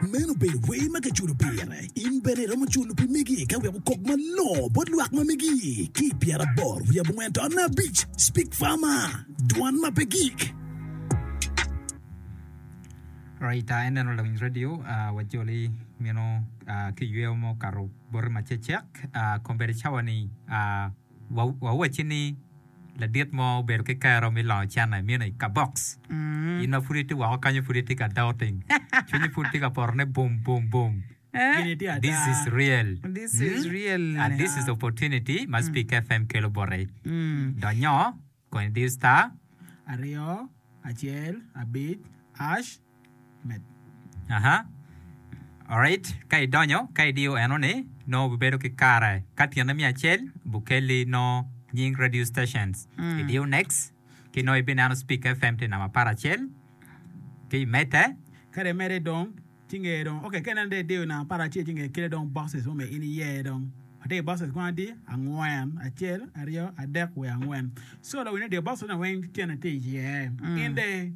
Meno obedo wer ma kiculo pire. In bene iromo culo pi megi ka wek okok malongo bot lwak ma megi ki i 84.5 Speak Farmer, Dwan ma pe gik. Right, uh, en eno lawiny radio uh, wajoli mino uh, ki yweyo mo okato boti macecek uh, kombeddi cawa ni uh, wawacci ni Ladit mo obedo ki kero me longo cente meno i kabox. In ma pud itye woko kanyo pud itye ka doubting. Cwinyi pud tye ka poto ni bum bum bum. Gini tye ada. This is real. This is real. And this is opportunity ma Speak FM kelo boti. Donyo, kony diyo star. Aryo, acel, abic, ash. Med. Aha. Alright, ka idonyo, ka idiyo eno ni, nongo obibedo ki kare. Ka tyene me acel, bukelli nongo nying radio stations. Idiyo next, ki nongo ibineno Speak FM tye namba aparacel, ki imedde. Ka dong imedde dong, ci nge dong, okay, ka ineno dong idiyo namba aparacel ci nge kele dong boxes mo me in iyer dong. Atye ki boxes kwan adi? Angwen. Acel, aryo, adek, wiye angwen. So lawiny radio boxes-ni weng tyene tye iye. In dong.